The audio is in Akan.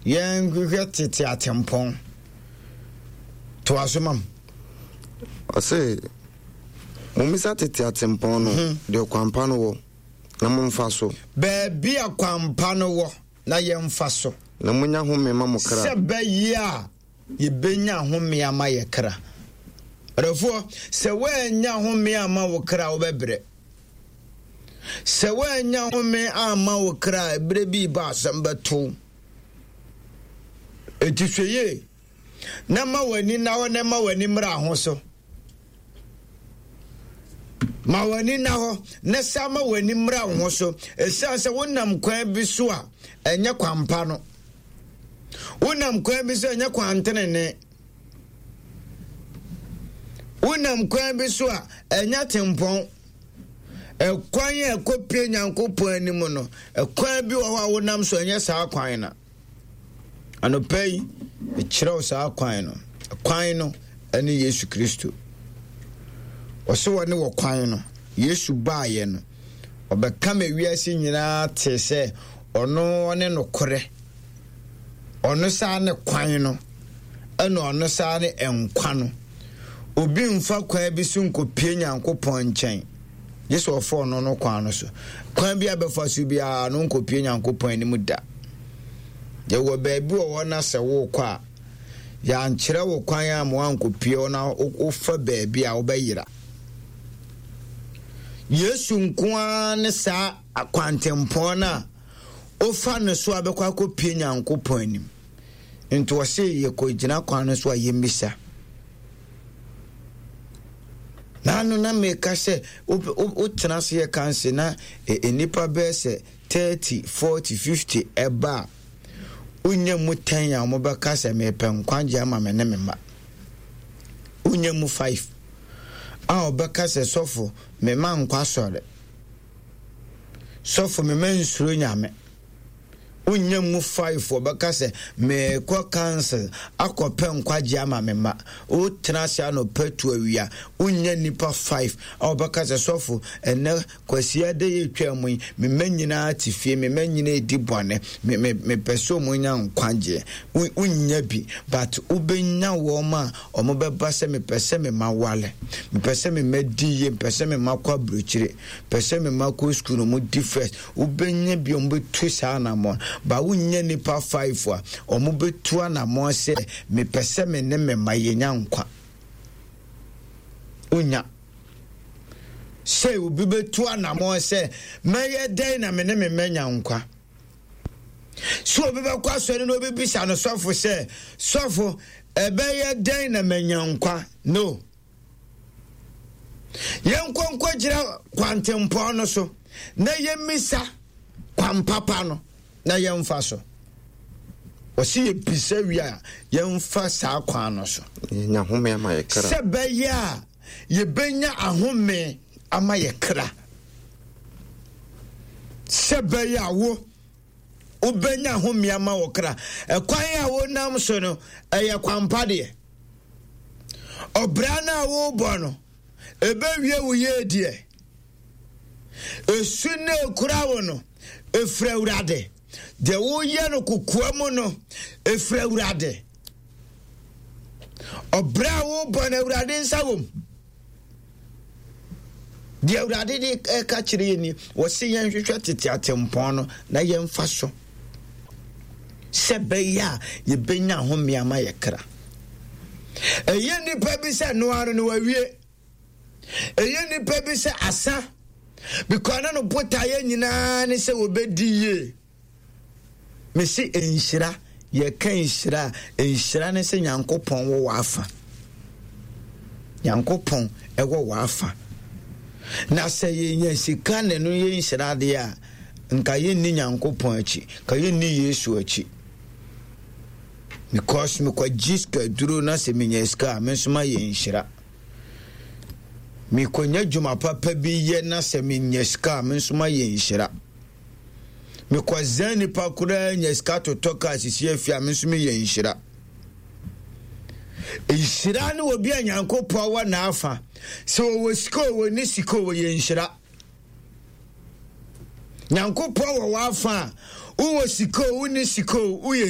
Yɛnhwehwɛ tete atempɔn. Toa so ma m. Ɔse, Mommisa tete atempɔn no, deɛ ɔkwampa no wɔ, na momfa so. Baabi a kwampa no wɔ, na yɛmfa so. Na monya home ma mo kra. Sɛ bɛyɛ a yɛbɛnya home ama yɛ kra. Ɔdɔfoɔ, sɛ woannya home amma wo kra a, wobɛbrɛ. Sɛ woannya home amma wo kra a, berɛ bi reba asɛm bɛto wo. Enti hwɛ yie na ma w'ani nna hɔ na ma w'ani mmra ho so. Ma w'ani nna hɔ na sa ma w'ani mmra wo ho so. Ɛsiane sɛ wonam kwan bi so a ɛnyɛ kwampa no. Wonam kwan bi so a ɛnyɛ kwantenene. Wonam kwan bi so a ɛnyɛ tempɔn. Ɛkwan a ɛkɔpie Nyankopɔn anim no, ɛkwan bi wɔ hɔ a wonam so ɛnyɛ saa kwan no. Anɔpa yi, mekyerɛ wo saa kwan no. Kwan no ɛne Yesu Kristo. Ɔse wɔne wɔ kwan no. Yesu baeɛ no, ɔbɛka ma wiase nyinaa te sɛ ɔno ɔne nokorɛ. Ɔno saa ne kwan no, ɛna ɔno saa ne nkwa no. Obi mfa kwan bi so nkɔpie Nyankopɔn nkyɛn, gye sɛ ɔfa ɔno no kwan no so. Kwan bi a bɛfa so biara no nkɔpie Nyankopɔn anim da. Yɛwɔ baabi wɔ hɔ na sɛ wokɔ a, yɛankyerɛ wo kwan a ma woankɔpie hɔ na wofa baabi a wobɛyera. Yesu nko ara ne saa akwantempɔn no a wofa no so a bɛkɔ akɔpie Nyankopɔn anim. Nti ɔse yɛkɔgyina kwan no so a yɛmmisa. Naano na meka sɛ wotena ase yɛ kanse na nnipa bɛyɛ sɛ 30, 40, 50 ɛba a wonya mu 10 a wɔbɛka sɛ mepɛ nkwagye ama me ne me mma. Wonya mu 5 a wɔbɛka sɛ sɔfo me ma nkwa sɔre. Sɔfo me ma nsuro nyame. Wonnya mu faefoɔ bɛka sɛ, Merekɔ council akɔpɛ nkwagyeɛ ama me mma. Wotena ase anɔpa tu awia, wonnya nnipa five a wɔbɛka sɛ, Sɔfo, ɛnnɛ Kwasiada yi atwa mu yi, me mma nyinaa te fie, me mma nyinaa redi bɔne, me, me, mepɛ sɛ wɔnya nkwagyeɛ. Wonnya bi, but wobɛnya wɔn a wɔbɛba sɛ, mepɛ sɛ me mma wale, mepɛ sɛ me mma di yie, mepɛ sɛ me mma kɔ aburokyire, mepɛ sɛ me mma kɔ sukuu na wɔdi first. Wobɛnya bi a wɔbɛtu saa anammɔn. Ba wonnya nnipa five a wɔbɛtu anammɔn sɛ mepɛ sɛ me ne me mma yɛnya nkwa. Wonya. Sɛ obi bɛtu anammɔn sɛ mɛyɛ dɛn na me ne me mma nya nkwa. Sɛ obi bɛkɔ asɔre na obi bisa no sɔfo sɛ sɔfo ɛbɛyɛ dɛn na manya nkwa? No. Yɛnkɔ nkɔgyina kwantempɔn no so na yɛmmisa kwampapa no na yɛmfa so. Wɔsi yɛbisa wie a yɛmfa saa kwan no so. Yɛnya home ama yɛ kra. Sɛ bɛyɛ a yɛbɛnya ahome ama yɛ kra. Sɛ bɛyɛ a wo wobɛnya home ama wo kra. Ɛkwan a wonam so no ɛyɛ kwampa deɛ. Ɔbra no a worebɔ no, ɛbɛwie wo yie deɛ. Esu no ekura wo no, efiri Awurade. Deɛ woyɛ no kokoa mu no, efiri Awurade. Ɔbra a worebɔ no, Awurade nsa wom. Deɛ Awurade de ɛka kyerɛ yɛn ni, wɔse yɛnhwehwɛ tete atempɔn no na yɛmfa so sɛ bɛyɛ a yɛbɛnya ahome ama yɛ kra. Ɛyɛ nnipa bi sɛ noa no no wawie. Ɛyɛ nnipa bi sɛ asa because na no botaeɛ nyinaa ne sɛ wɔbɛdi yie. Mese nhyira, yɛka nhyira a, nhyira ne sɛ Nyankopɔn wɔ w'afa. Nyankopɔn ɛwɔ w'afa. Na sɛ yɛnya sika na ɛno yɛ nhyira adeɛ a, nka yɛnni Nyankopɔn akyi, nka yɛnni Yesu akyi. Because mekɔgye sika duro na sɛ menya sika a, me nso mayɛ nhyira. Mekɔnya dwuma papa bi yɛ na sɛ menya sika a, me nso mayɛ nhyira. Mekɔzɛn nipa koraa nya sika totɔ kaa sisi afie a me nso meyɛ nhyira. Nhyira ne obi a Nyankopɔn wɔ n'afa. Sɛ ɔwɔ sika o, ɔnni sika o, ɔyɛ nhyira. Nyankopɔn wɔ w'afa a, wowɔ sika o, wonni sika o, woyɛ